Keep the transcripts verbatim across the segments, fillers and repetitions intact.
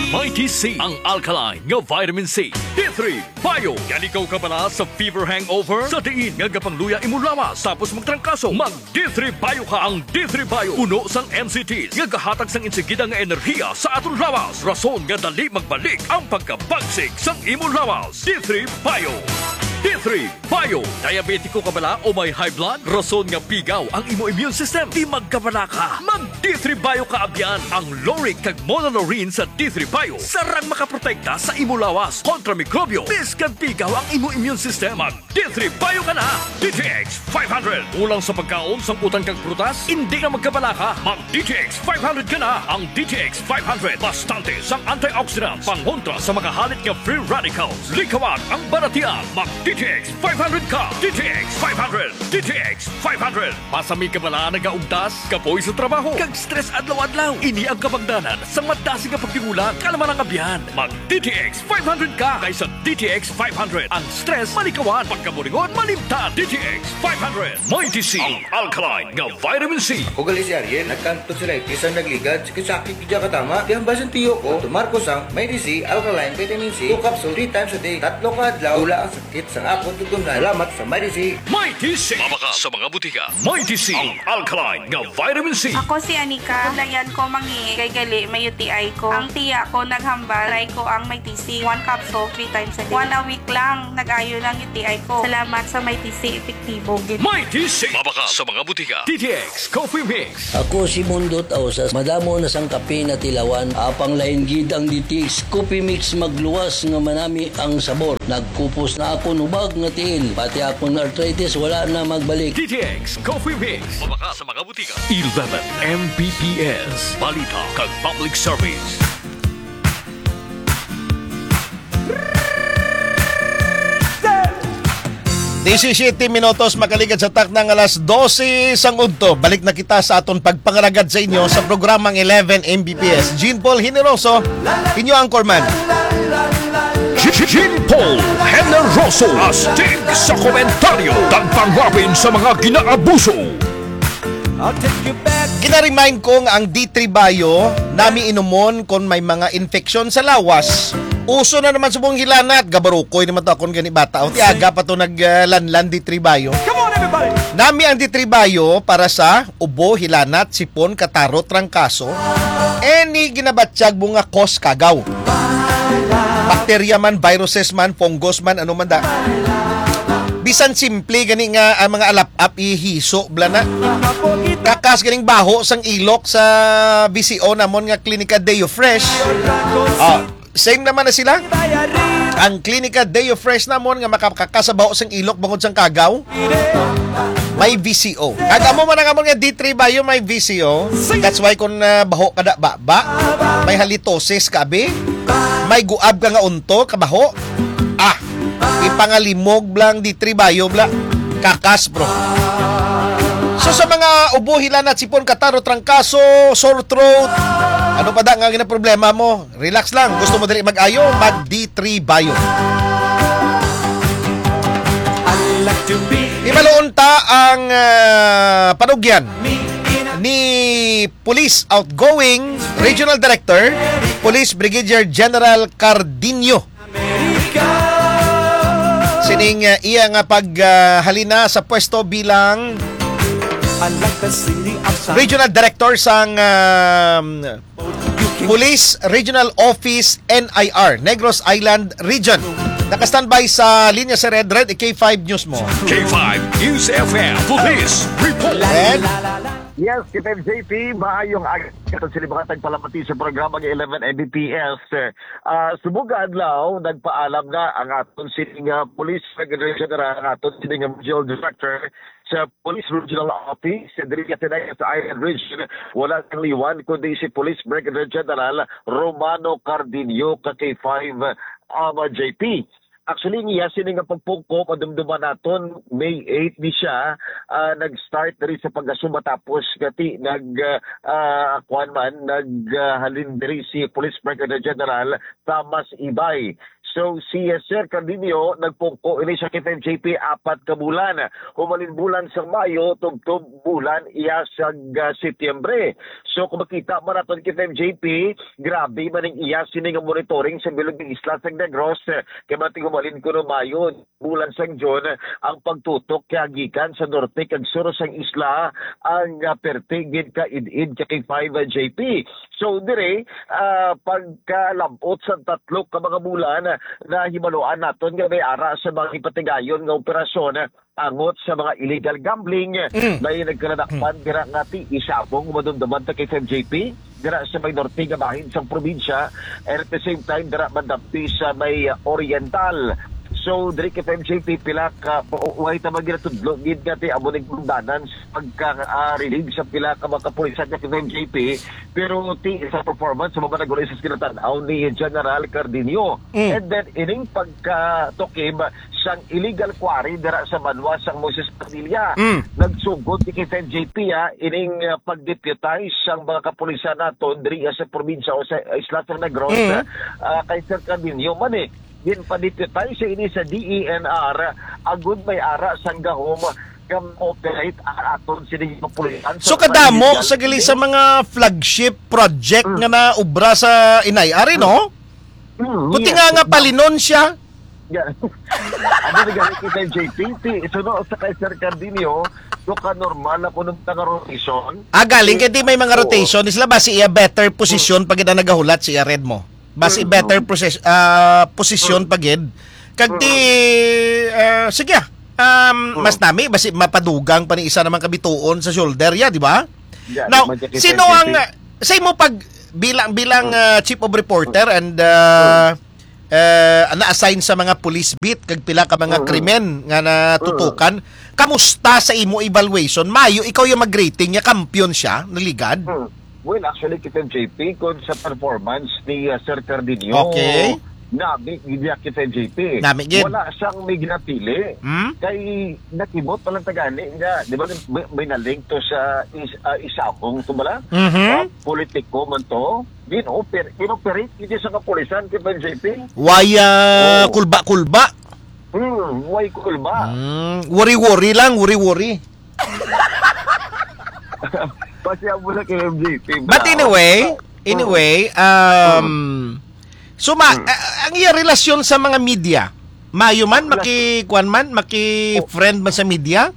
Mighty C, ang alkaline nga vitamin C. D three Bio. Yan ikaw kabala sa fever hangover? Sa diin nga gapangluya imo lawas tapos magtrangkaso, mag D three Bio ka. Ang D three Bio, puno sang M C Ts nga gahatag sang insigida nga enerhiya sa aton lawas, rason nga dali magbalik ang pagkabagsik sang imo lawas. D three Bio. D three Bio. Diabetiko ka bala o may high blood? Rason nga pigaw ang imo immune system. Di magkabala ka. Mag D three Bio ka abyan. Ang lauric kag monolaurin sa D three Bio sarang makaprotekta sa imo lawas kontra mikrobyo. Biskag pigaw ang imo immune system, mag D three Bio ka na. D T X five hundred. Kulang sa pagkaon, sang utan kag prutas? Hindi na magkabala ka. Mag D T X five hundred ka na. Ang D T X five hundred, bastante sang antioxidants, pangontra sa mga halit nga free radicals. Likawan ang baratian. Mag D T X five hundred ka. D T X five hundred. D T X five hundred. Masami ka bala nagaugtas, kapoy sa trabaho, kag stress adlaw-adlaw? Ini ang kabangdanan sang madasig nga pagtingulang. Kalma lang, abyan. Mag D T X five hundred ka, kay sa D T X five hundred, ang stress malikawan, pagkaburingon malimtan. D T X five hundred. Mighty C, ang alkaline nga vitamin C. Ugali si Ariel, nagkanto sila, isang nagligad, sakit-sakit, di ka tama. Kaya ang basang tiyo ko, tumar ko sang Mighty C, alkaline, vitamin C, two capsule, three times a day, tatlo ka adlaw, wala ang sakit sa akon tutunan. Salamat sa Mighty C. Mighty C. Mabakal sa mga butika. Mighty C, ang alkaline nga vitamin C. Ako si Anika. Layan ko mangi kay gali may U T I ko. Ang tiya ko naghambal, try ko ang Mighty C. One capsule, three times a day. One a week lang, nag-ayo lang U T I ko. Salamat sa Mighty C, epektibo gid. Mighty C. Mabakal sa mga butika. D T X Coffee Mix. Ako si Mundot Ausas. Madamo na sang kape na tilawan. Apang lain gid ang D T X Coffee Mix, magluwas nga manami ang sabor. Nagkupos na ako nubag nga tiil. Pati akong arthritis wala na magbalik. D T X Coffee Mix. Mabakal sa mga butika. Eleven M B P S. Balita kag public service. Disisiyete minutos makaligad sa takna nga alas dose sang udto. Balik na kita sa aton pagpangalagad sa inyo sa programang eleven M B P S. Jean Paul Generoso, inyo anchorman. Jean Paul Generoso, astig sa komentaryo, tagpangwapin sa mga ginaabuso. Gina-remind ko nga ang D three Bio nami inumon kon may mga infeksyon sa lawas. Uso na naman subong hilanat, gabarukoy naman to akon gani bata. O, ti aga pa to nag, ah, lanlan D three Bio. Come on, everybody! Nami ang D three Bio para sa ubo, hilanat, sipon, kataro, trangkaso. Any ginabatyag mo nga cause kagaw. Bakterya man, viruses man, fungus man, ano man da. Bisan simple gani nga ang mga alap-ap ihiso bala na. Kakas ganing baho sang ilok sa V C O namon nga Klinika Deo Fresh. Ah, same naman na sila. Ang Klinika Deo Fresh namon nga makakakas sa baho sang ilok bangod sang kagaw. May V C O. Kag amo man ang amon nga D three Bio may V C O. That's why kung, ah, baho ka da baba, may halitosis ka abi, may guab ka nga unto, kabaho. Ah, ipangalimog lang D three Bio bla. Kakas, bro. So sa mga ubo, hilanat, sipon, kataro, trangkaso, sore throat, ano pa da nga ginaproblema mo? Relax lang. Gusto mo dali mag-ayo? Mag D three Bio. Ibaluon ta ang, ah, panugyan ni Police Outgoing Regional Director, Police Brigadier General Cardinho. Sining, ah, iya nga paghalina sa pwesto bilang Regional Director sang, um, Police Regional Office N I R, Negros Island Region. Naka-standby sa linya si Red Red, K five News mo. K five News F M Police Report. Red? Yes, K five J P, maayong aga sa sini mga tagpalamati sa programa ng eleven M B P S. Ah, subong nga adlaw, nagpaalam na ang aton sining, ah, Police Secretary General, ang aton sining, ah, Regional Director sa Police Regional Office, diri sa Tinayas Island Region, wala sang liwan kundi si Police Brigadier General Romano Cardinho ka K five, um, J P. Actually, niya sini nga pagpungko, madumduman naton, May eight ni siya, ah, nag-start diri sa pag-asuma tapos gati nag, ah, ah, kuwan man, nag, ah, halin diri si Police Brigadier General Thomas Ibay. So, si, uh, Sir Cardinio, nagpungko ini sa K five J P apat ka bulan. Humalin bulan sa Mayo, tubtob bulan iya sa, uh, Setyembre. So, kung makita man naton K five J P, grabe man ang iya sini nga monitoring sa bilog nga isla sa Negros. Kay man tinghumalin kuno Mayo, bulan sang June, ang pagtutok kaya gikan sa norte kag sur sang isla ang, ah, perti gid ka id-id ka K five J P. So, dire, ah, pagkalabot sa tatlo ka mga bulan, nahibaluan naton nga may ara sa mga ipatigayon nga operasyon angot sa mga illegal gambling. Mm. May nagkaladakpan dira nga ti isabong madumduman ta kay F M J P dira sa may norte nga bahin sang probinsya, and at the same time dira madampi sa may, uh, oriental. So, diri kay F M J P, pila ka, way ta magginatudlo gid nga ti amo ning pagdanan sa pagka, ah, relieve sa pila ka mga kapulisan nga F M J P, pero ti sa performance sa mga nagulay sa kinatan-aw ni General Cardinio. Mm. And then, ining pagkatukib sang illegal quarry dira sa banwa sang Moises Padilla. Mm. Nagsugod ni K five J P, ah, ining, ah, pag-deputize sang mga kapulisan naton diri sa probinsya o sa isla sa Negros, Mm. ah, kay Sir Cardinio man, eh. Ginpa-deputize siya ini sa D E N R, agud may ara sang gahom nga ma-operate ang aton sini nga kapulisan So, sa kadamo illegal sa gali sa gambling. mga flagship project Mm. nga naubra sa inay, ari, no? Mm, Buti yes. nga, nga palinon siya. Yeah. Ano na gani kita, J P? Ti, suno sa kay Sir Cardinio, do ka normal na kuno nga rotation? Ah, galing kay di may mga Oo. rotation. Sila ba si iya better position Mm. pag ina nagahulat si iya red mo? Basi Mm. better poses-, ah, posisyon Mm. pa gid. Kag ti, Mm. ah, sige, ah, um, Mm. mas nami, basi mapadugang pa ni isa naman kabituon sa shoulder, ya, di ba? Yeah, Now, di man siya sino kita ang, J P. ah, sa imo pag, bilang, bilang, Mm. ah, chief of reporter Mm. and, ah, Mm. eh, na-assign sa mga police beat, kag pila ka mga Mm. krimen nga natutukan, Mm. kamusta sa imo evaluation? Mayo, ikaw yung mag-rating niya, kampiyon siya, naligad? Mm. Well, actually, kita J P, kung sa performance ni, uh, Sir Cardinio, Okay. nami gid niya kita J P. Nami gid. Wala siyang may ginapili. Hmm? Kay nakibot pa lang tagani nga, di ba, may, may nalink to sa is, uh, isabong to bala? Mhm. Uh, politiko man to. Gin-oper-, gin-operate gid sa kapulisan kita J P. Waya Oo. kulba-kulba. Hmm, way kulba. Hmm, worry-worry lang, worry-worry. Pasya mo na kay M J P, But bro. anyway, Oo. anyway, um, Mm. so ma-, Mm. a-, ang iya relasyon sa mga media, mayo man, Relasyon. maki-, kuwan man, maki-friend man sa media?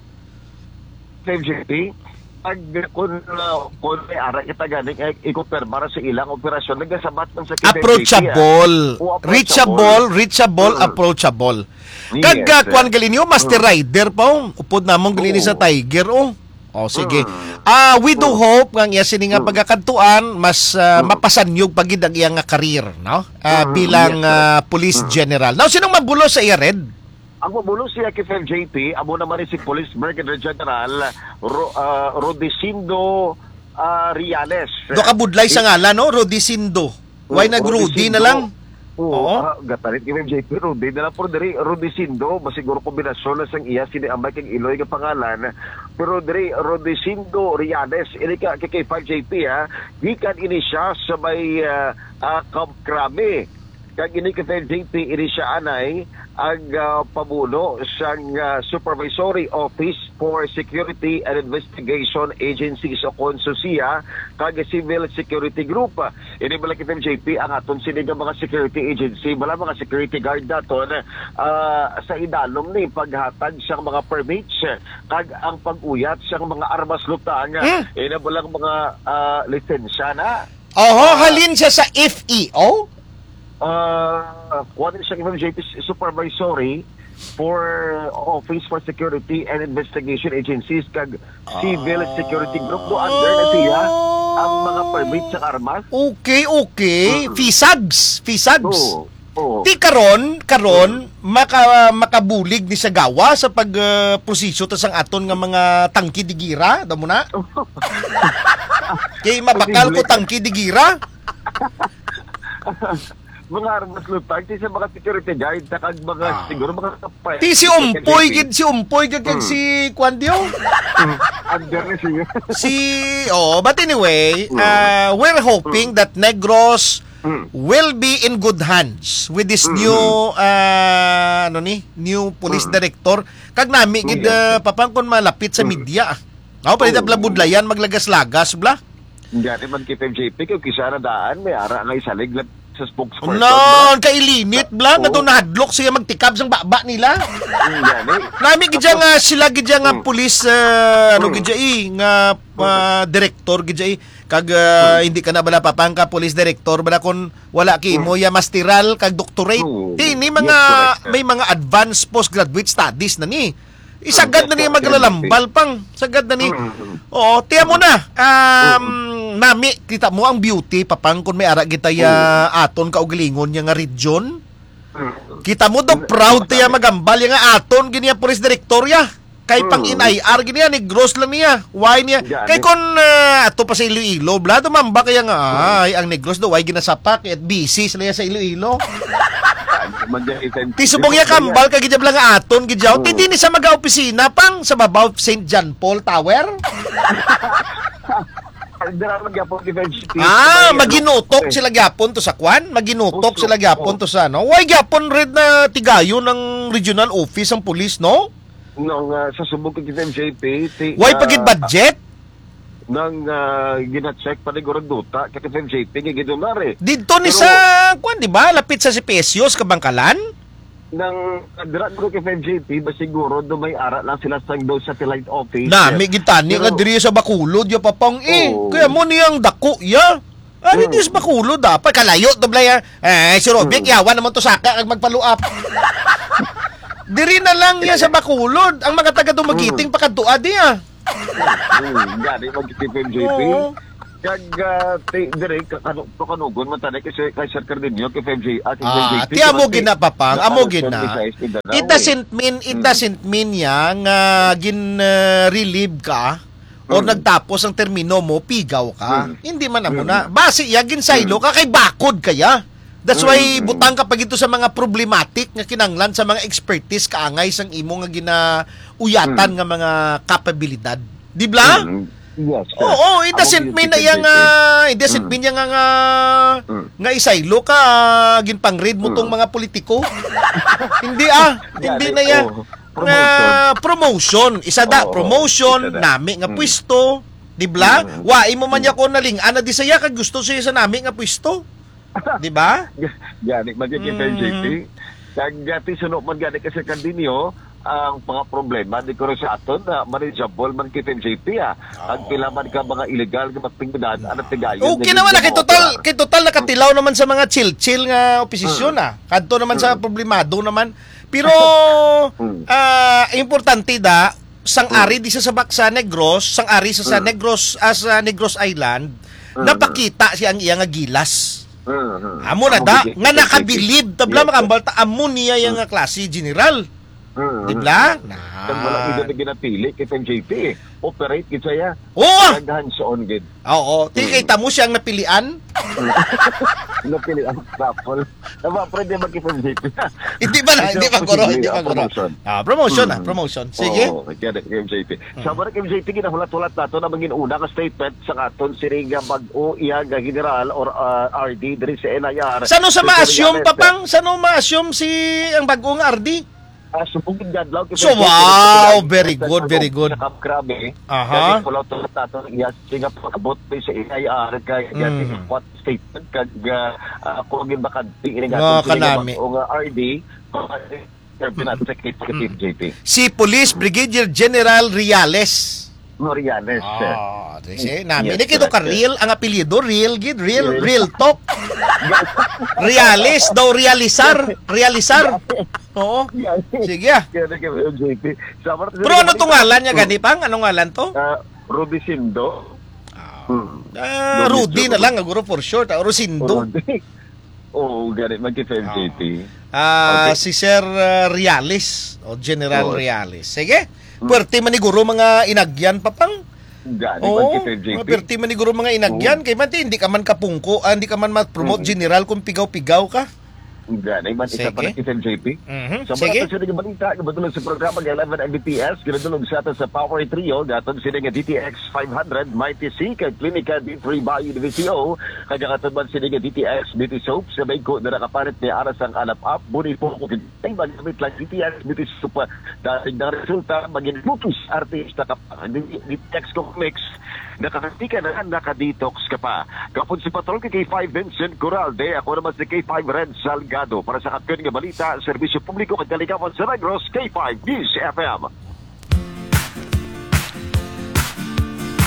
Sa M J P, pag, kun, uh, kun may ara kita gani, eh, ikumpirma ra sa ilang operasyon, nagasabat man sa K P M J P, ah. Approachable. O, approachable. Reachable, reachable, Mm. approachable. Kag, Yes, ah, sir. kuwan gali niyo, Master Mm. Rider pa, oh. Upod namon gali ni sa Oo. Tiger, oh. Oh, sige. Mm. Ah, we do Mm. hope nga ang iya sini nga Mm. pagakadtuan, mas, ah, Mm. mapasanyog pa gid ang iya nga career, no? Ah, Mm, bilang, yes, sir. ah, police Mm. general. Now, sinong mabulos sa iya, Red? Ang mabulos siya kay F M J P, amo naman ni si Police Brigadier General Ro-, ah, Rudecindo, ah, Reales. Do ka budlay sa Di- ngalan, no? Rudecindo. Why Mm, nag Rudy na Rudecindo. lang? Oo, Oo. ah, gatarit ni F M J P, Rudy na lang. Pero diri, Rudecindo, masiguro kombinasyon na sang iya, sini amay kag iloy nga pangalan. Pero diri, Rudecindo Reales, ini ka, kay, kay F M J P, ha? Gikan ini siya sa may, ah, ah, Camp Crame. Kag ini kay F M J P, ini siya anay ang, ah, pamuno sang, ah, Supervisory Office for Security and Investigation Agencies o kon SOSIA kag Civil Security Group. Ini bala kay F M J P ang aton sini nga mga security agency, bala mga security guard naton, ah, sa idalom ni paghatag sang mga permits kag ang pag-uyat sang mga armas lutang. Hmm. Ina balang mga, ah, lisensya na. Oho, Ah. halin siya sa F E O? Ah, kuwan siya, F M J P, Supervisory for Office for Security and Investigation Agencies kag Civil Security Group. Do under na siya ang mga permit sa armas. Okay, okay. Mm. FISAGs, FISAGs. Oo, oo. Ti karon, karon, Mm. maka-, makabulig ni sa gawa sa pag, ah, proseso ta sang aton nga mga tangki digira, damo na? Kay mabakal ko Posible. tangki digira. Mga armas lutang, ti sa mga security guard, sa kag mga, Ah. siguro mga kapay. Ti si Umpoy, Security. gid si Umpoy, gid, gid Hmm. si Kwan Dio. Hmm. Under na siya. Si, oh, but anyway, Hmm. uh, we're hoping Hmm. that Negros Mm. will be in good hands with this Mm-hmm. new, ah, ano ni, new police Mm. director. Kag nami gid, Yes. ah, Papang, kun malapit sa Mm. media, ah. Ako, pwede Oo. bla budlayan, maglagas-lagas, bla. Gani man kay F M J P, kay kisa na daan, may ara nga isalig lang sa spokesperson, No, bla. Kailinit, bla, nga Oo. doon nahadlok siya magtikab sang baba nila. Mm, gani. Nami gid siya Tapos nga, sila gid siya nga Mm. police, ah, ano Mm. gid siya, eh, nga, Mm. ah, director gid siya, eh. Kag, ah, Mm. hindi ka na bala, Papang, ka police director, bala, kung wala kay imo Mm. ya masteral kag doctorate. Oo. Ti, ni Yes, mga, correct, sir. may mga advanced postgraduate studies na ni. Isagad Mm, na niya yes, sir. maglalambal, Pang. Sagad na ni. Mm. Oo, tiyan mo na. Um, Mm. nami, kita mo ang beauty, Papang, kung may ara kita ya Mm. aton kaugalingon niya nga region. Mm. Kita mo do, Mm. proud tiya Masabi. magambal ya nga aton gini ang police director ya. Kay pang Mm. N I R gini ya, Negros lang niya. Why niya? Gani. Kay kung, ah, ato pa sa Iloilo, bla, dumamba kaya nga, Mm. ay, ang Negros do, why ginasapak? At busy sila ya sa Iloilo. Ay, man dyan, item-, Ti subong ya item-, kambal ka gid bla nga aton gid yaw. Mm. Ti di ni sa mga opisina, Pang, sa babaw of Saint John Paul Tower. Ay, dira man gyapon, F M G T. Ah, May ano, maginutok eh. sila gyapon to sa kwan? Maginutok Puso. sila gyapon Oh. to sa ano? Why gyapon red na tigayon ang regional office ang police, no? Nang, ah, sa subong kay F M J P, ti-, Why ah, pagid budget? nang, ah, gina-check pa ni Gurang Duta kay F M J P nga gidunare. Didto ni Pero sa, kwan, di ba? Lapit sa C P S U, sa Kabangkalan? Nang, ah, dira guro kay F M J P, ba siguro do may ara lang sila sang do satellite office. Nami gid tani Pero nga diri sa Bacolod, ya Papang, eh. Oo. Kaya mo niyang dako, ya. Ari Hmm. di sa Bacolod, dapat kalayo to, Blay, ah. Eh, si Robic, Hmm. yawan naman to saka kag magpaluap. Diri na lang ya sa Bacolod. Ang mga taga Dumaguete, Hmm. pakadtua di, ah. Hmm, gani mag-F M J P. Oo. Kag, ah, ti-, dire, ka-, kanu-, pakanugon man tani kay Sir, kay Sir Cardinio, kay F M J, ah, kay Ah, F M J P, ti amo man gina, Papang, ti-, amo ah, gina. twenty-six in the It doesn't mean, it Hmm. doesn't mean ya nga gin, ah, relieve ka or Hmm. nagtapos ang termino mo, pigaw ka. Hmm. Hindi man amo Hmm. na. Basi ya, ginsaylo Hmm. ka kay bakod kaya. That's why Mm, mm. butang ka pa gito sa mga problematic nga kinanglan sa mga expertise kaangay sang imo nga ginauyatan Mm. nga mga kapabilidad. Di bla? Mm, yes, sir. Oo, it Amo doesn't gid mean na si iya P J P. nga, it doesn't Mm. mean iya nga, nga, Mm. nga isaylo ka, ginpang-read mo tong Mm. mga politiko. Hindi, ah. Hindi Gani, na iya. oo. Nga Promotion. promotion. Isa da, Oo, promotion, isa da. nami nga Mm. pwesto. Di bla? Mm. Wa, imo man Mm. niya ko naling-an na di saya kag gusto siya sa nami nga pwesto. Di ba? Gani man gyud kay Mm. F M J P. Kag, ah, ti suno man gani kasi kandinyo, ang mga problema di ko sa aton na manageable man kay F M J P, ah. Ang Oo. pila man ka mga illegal nga mga aktibidad, ang tigayon Okay na naman na, kay mga total, opera. kay total nakatilaw naman sa mga chill-chill nga oposisyon, Mm. ah. Kadto naman sa Mm. problemado naman. Pero, Mm. ah, importante da, sang Mm. ari di sa, sa Bak-, sa Negros, sang ari sa, sa Mm. Negros, ah, sa Negros Island, Mm. napakita siya ang iya nga gilas. Mm, mm. Amo na Amo da, gid, nga amo gid. nakabilib, tabla Yes, sir. makambal ta, amo niya yang Mm. nga klase general. Mm, Di mm. bla? Na. Kag wala gid na ginapili kay F M J P, eh. Operate gid siya. Oo. Kag hands-on gid. Oo. Ti, Mm. kita mo siya ang napilian? Napilian, raffle. Tama, pwede mag-F M J P. Hindi ba na? Hindi Hindi ba, guro? posible, Hindi ba, ah, guro? promotion. Ah, promotion, ah, Mm. promotion. Sige. Oo, kaya na, F M J P. Mm. Sa mga F M J P, ginahulat-hulat nato na mangin una ka statement sa aton sini nga bag-o iya nga general or, ah, R D diri sa N I R. Sano sa Dito ma-assume, nga pa, Pang? Sano ma-assume si ang bag-o nga R D? Ah, subong gid nga adlaw, So, F M J P, wow, sa very sa good, very Kabug, good. sa Camp Crame. Aha. Kaya ginahulat-hulat nato iya sini nga pag-abot sa N I R, kay Mm. ginahulat statement kag, ah, ah, kung ang bakante ini nga Mga atong kanami. sininabang o nga R D, serve natin sa case sa Mm. P N J P. Si Police Brigadier General Reales. No, Reales, sir. Ah, di siya, Mm. nami. Yes, Di kito ka correct, sir. Real, ang apelyido, Real gid, Real, Real. Real Talk. Reales daw, Realisar, Realisar. Oo. Yes. Sige, ah. Kaya na kay F M J P. Sa Pero ano tong ngalan niya, Mm. gani, Pang? Anong ngalan to? Ah, Rudicindo. Ah, Hmm. ah, Rudicindo. Rudy na lang, siguro, for short, ah, Rosindo. Rudy. Oo, gani man kay F M J P. Ah, Okay. si Sir, ah, Reales, o General Oo. Reales. Sige. Hmm. Puwerte man ni guro mga inagyan, Papang. Gani man Oo, kay F M J P. mga puwerte man ni guro mga inagyan. Oo. Kay man ti, hindi ka man kapungko, ah, hindi ka man ma-promote Mm. general kung pigaw-pigaw ka. Gani man, isa pa Sige. na kita, J P. Mhm. Sa Sige. mga sa nga balita, kabatulan sa programa nga eleven M B P S, ginadulog sa ato sa Power Trio, gatod sini nga D T X five hundred, Mighty C, kag Klinika D three Bio Divisio, kag gatod man sini nga D T X Beauty Soap, sa may ko na nakapalit ni Aras ang Alap Up, Buni po ko, ay magamit lang D T X Beauty Soap, dating na resulta, maging butos, artista ka pa, D T X ko mix, Nakakati ka na, naka-detox ka pa. Kapon si Patrol kay K five Vincent Coralde, ako naman si K five Red Salgado. Para sa Kampiyon nga Balita, Serbisyo Publiko kag Kaligawan sa Negros, K five News F M.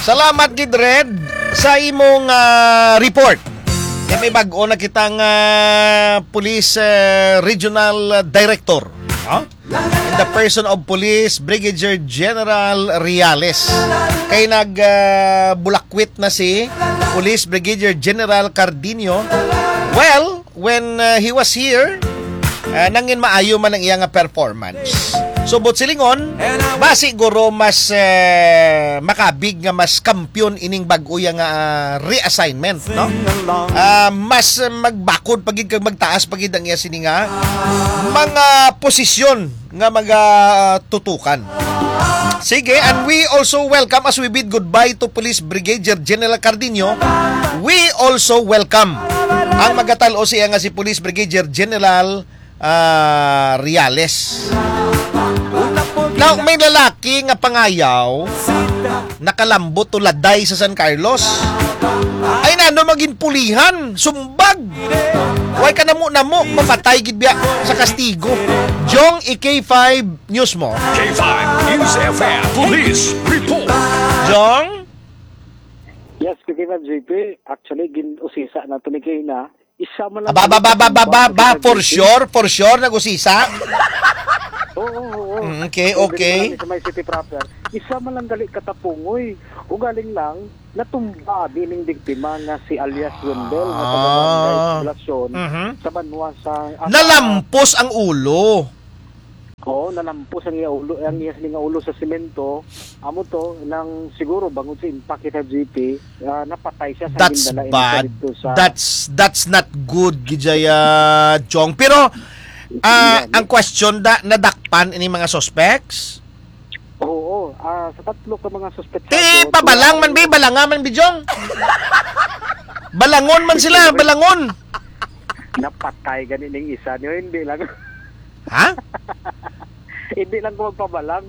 Salamat gid, Red, sa imong, ah, report. Kay may bag-o na kitang, ah, police, ah, regional, ah, director. Ha? In the person of Police Brigadier General Reales. Kay nag, ah, bulakwit na si Police Brigadier General Cardinio. Well, when, ah, he was here, ah, nangin maayo man ang iya nga performance. So, but silingon, ba siguro mas, eh, makabig nga mas kampiyon ining bag-o iya nga, ah, reassignment, no? Ah, mas, eh, magbakod pa gid kag magtaas pa gid ang iya sini nga mga posisyon nga magatutukan. Sige, and we also welcome, as we bid goodbye to Police Brigadier General Cardinio, we also welcome ang magatal-o siya nga si Police Brigadier General, ah, Reales. Now, may lalaki nga pangayaw nakalambot o laday sa San Carlos. Ay, nano magin pulihan, sumbag. Way ka namo-namo, mapatay gid biya sa kastigo. Jong, i-K five News mo. K five News F M Police Report. Jong? Yes, K five J P. Actually, gin-usisa na to ni Kay na. Isa man lang Aba, aba, aba, aba, aba, aba, for sure, for sure, nag-usisa? Oo, oo, oo. Mm, okay, Hindi okay. naman sa may city proper. Isa man lang gali katapungoy. Ugaling lang, natumba abi ning biktima nga si alias Wendell, nga taga Barangay Ah. Poblacion, Mhm. sa banwa sa, ah, Nalampos ang ulo. Oo, nalampos ang iya ulo, ang iya sini nga ulo sa semento. Amo to, nang siguro bangod sa impact kita, G P, ah, napatay siya sa That's gindala ini bad. dito sa That's, that's not good, Gijaya Chong. Pero, ah, Yeah, ang yeah. question da, nadakpan ini mga suspects? Oo, ah, sa tatlo ka mga suspetsados, Ti, pabalang wala man, bi, balanga man, bi, Jong. Balangon man sila, Hindi, balangon. Napatay gani ning isa niyo, hindi lang. Ha? Hindi lang ko magpabalang.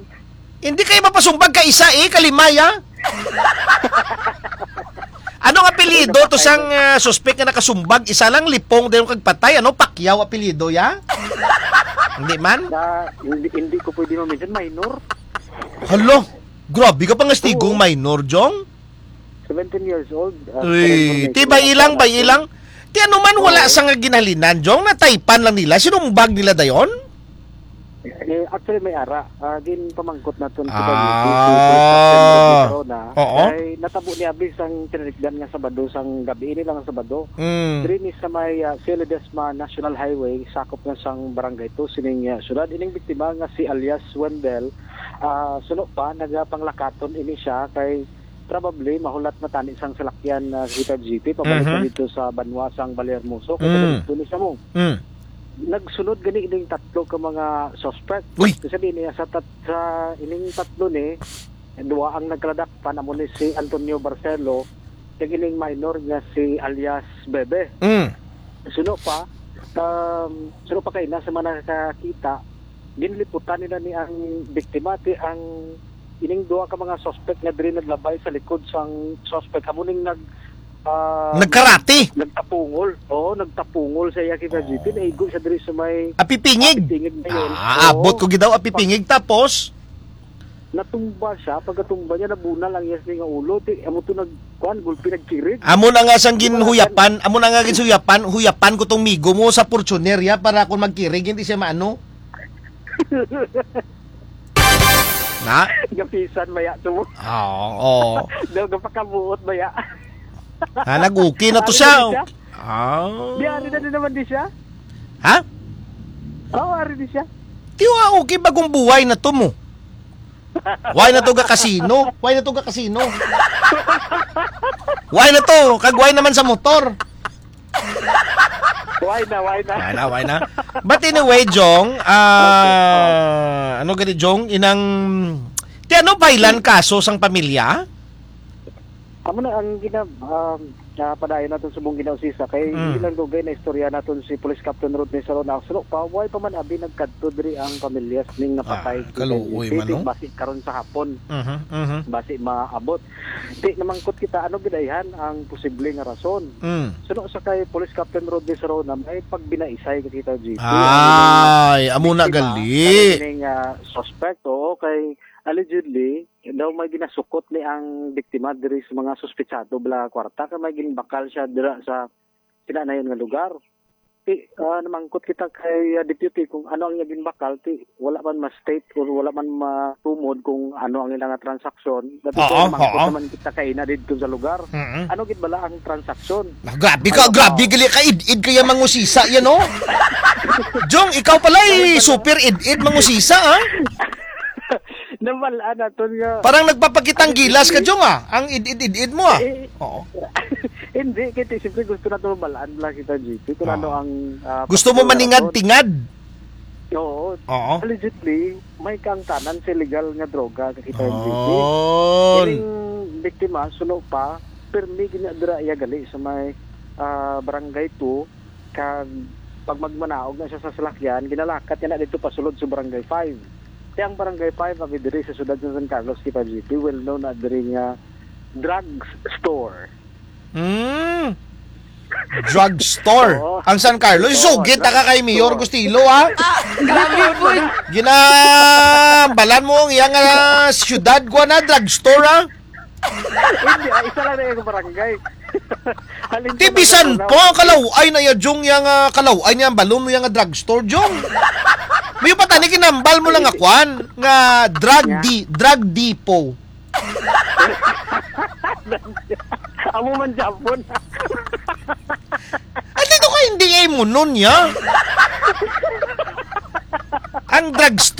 Hindi kayo mapasumbag ka isa, eh, kalimay, ah. Anong apelyido Ano to ba sang, kayo? ah, suspek nga nakasumbag? Isa lang, Lipong, dayon kag patay. Ano, Pacquiao apelyido, ya? Hindi man? Na, hindi, hindi ko pwede ma-mention. Minor. Hala, grabe ka pangastigong Oo. minor, Jong. Seventeen years old, uh, Uy, for information, ti, bay ilang, wala bay pa. ilang. Ti, ano man, wala Oo. sa nga ginhalinan, Jong, nataypan lang nila, sinumbag nila dayon? Eh, actually, may ara. Ah, ginpamangkot naton sa Ah. Police Station Corona. Oo. Kay natabo ni abi sang tinalikdan nga Sabado, sang gabi, ini lang nga Sabado. Mm. Diri ni sa may, ah, Cielo Desma National Highway, sakop na sang Barangay Two, sining, ah, syudad. Ining biktima nga si alias Wendell, ah, suno pa, nagapanglakaton ini siya kay probably mahulat na tani sang salakyan na kita G P, pabalik Mhm. na dito sa banwa sang Balehermoso. Kay Mm. dito ni sa mo. Mm. Nagsunod gani ining tatlo ka mga suspect. Uy! Kasi di niya sa tat-, sa ining tatlo ni, duwa ang nagkaladakpan, amo ni si Antonio Barcelo, kag ining minor nga si alias Bebe. Mm. Suno pa, um, suno pa kay na sa mga nakakita, ginliputan nila ni ang biktima, ti ang ining duha ka mga suspect nga diri naglabay sa likod sang suspect, amo ning nag, ah, Nagkarate? nagtapungol. Oo, nagtapungol sa iya kita, Oh. G P. Naigo siya diri sa may Apipingig? Apipingig na yun. Ah, Oo. abot ko gid daw Apipingig. Tapos? Natumba siya. Pagkatumba niya, nabunal ang iya sini nga ulo. Ti, amo to nag-, kuan, gulpi nagkirig. Amo na nga sang Di ba, ginhuyapan, amo na nga ginhuyapan, huyapan ko tong migo mo sa Fortuner, ya, para kung magkirig, hindi siya maano. Na? Gapisan baya to mo. Oo, oo. Daw gapakabuot baya. Ah, nag-okay na to Ari siya. na siya? Ah. Di, ari na din naman di siya? Ha? Oo, ari di siya. Di, ah, okay, bagong buhay na to mo. Why na to ga kasino? Why na to ga kasino? Why na to? Kag why naman sa motor? Why na, why na? Why na, why na? But anyway, Jong, ah, ano gani, Jong, inang, ti ano, baylan kaso sang pamilya? Amo na ang gina-, um, ah, padayon naton subong ginausisa kay Mm. ilang dugay na istorya naton si Police Captain Rodney Sarona. Suno pa, why pa man abi nagkadto diri ang pamilya ning napatay Ah, kay kaluoy G P? man, no? Basi karon sa hapon, Mhm, mhm. basi maabot. Di namangkot kita, ano gid ayhan ang posible nga rason? Mm. Suno sa kay Police Captain Rodney Sarona, may pagbinaisay ka kita, G P. Ay, amo na biktima, gali. Kaning, ah, suspect, oo, kay allegedly, daw may ginasukot ni ang biktima diri sa mga suspetsado bala kwarta, kay may ginbakal siya dira sa kinanayon nga lugar. Ti, ah, namangkot kita kay, ah, Deputy kung ano ang iya ginbakal, ti wala man ma-state or wala man matumod kung ano ang ila nga transaksyon. Dapat Oo, namangkot oo. naman kita kay ina didto sa lugar. Mm-mm. Ano gid bala ang transaksyon? Ah, grabe ka, Ano, grabe oh. gali ka, id-id kaya mangusisa yan, no? Jong, ikaw pala, eh, Ano, ano? super id-id mangusisa, ha? Nabalaan naton nga Parang nagpapakitang Ano, gilas ka, hindi? Jong, ah. Ang id-id-id-id mo, ah. Eh, Oo. Hindi, kay siyempre gusto naton mabalaan lang kita, G P, kung Oo. ano ang, ah, Gusto mo pakitang maningad-tingad? rason. Oo. Oo. Allegedly, may kaangtanan sa illegal nga droga, kakita, G P. Oh. Kining biktima, suno pa, pirmi gina dira iya gali sa may, ah, Barangay two, kag pag magmanaog na siya sa salakyan, ginalakat niya na dito pasulod sa Barangay five. Kaya ang Barangay five, abi diri sa siyudad sa San Carlos, kita, G P, well known na diri nga drug store. Mm. Drugstore. Oo. Ang San Carlos, Oo, sugit na ka kay Mayor drugstore. Gustilo, ha? Ah, grabe, boy. Ginabalan mo ang iyang, ah, syudad, kuha na, drugstore, ha? Hindi, ah, isa lang na yung barangay. Halin Ti ko bisan na pa, kalaway na ya, Jong, yang, ah, kalaway niya, ang balon mo yang, ah, drugstore, Jong. May pa tani, kinambal mo lang nga kwan, nga drug Nga. di-, drug depot. Amo man Japon. Ay, dito ka hindi ay mo nun, ya? Ang drugstore